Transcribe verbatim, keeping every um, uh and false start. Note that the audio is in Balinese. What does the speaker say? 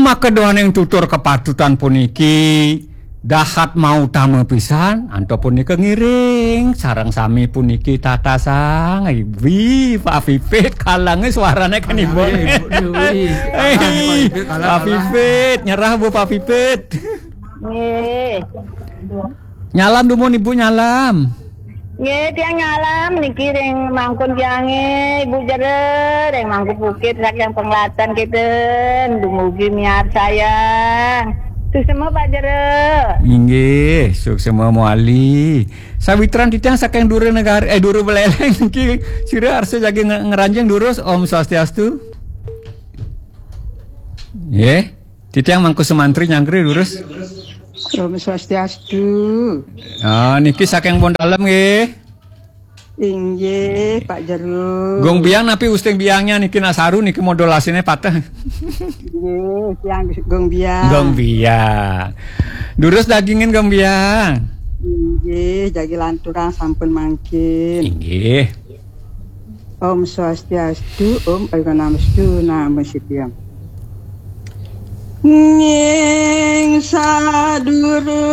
Maka doaning tutur kepatutan puniki dahat mautama pisan, antuk punika ngiring sareng sami puniki tatasang. Ibu, Pak Pipit, kalange suarane kan Ibu. Iya, Ibu. Iya, iya. Eh, Pak Pipit, kalang, Pak kalang. Pipit, nyerah Bu Pak Pipit. Nggih. Nyalam dumun Ibu, nyalam. Nggih, tiang nyalam niki ring mangkun tiange, Ibu Jero, ring Mangku Bukit saking Penglatan kiten, dumugi miarsayang. Suksema Pak Jero. Inggih, suksema mawali. Sawitran titiang saking Dura Negara, eh, Dura Buleleng niki, sira arsa jagi nge-, ngranjing durus, Om Swastiastu. Nggih. Titiang Mangku Sumantri nyangkri durus. Om Swastiastu. Ah, niki saking Pondalem nggih. Inggih, Pak Jero. Gong Biang napi usting biangnya niki nak saru niki modulasine pateh. Inggih, tiang Gong Biang. Gong Biang. Durus dagingin Gong Biang. Inggih, jagi lanturang sampun mangkin. Inggih. Om Swastiastu, Om Ayu Namastu, Namastu. Ning sadurung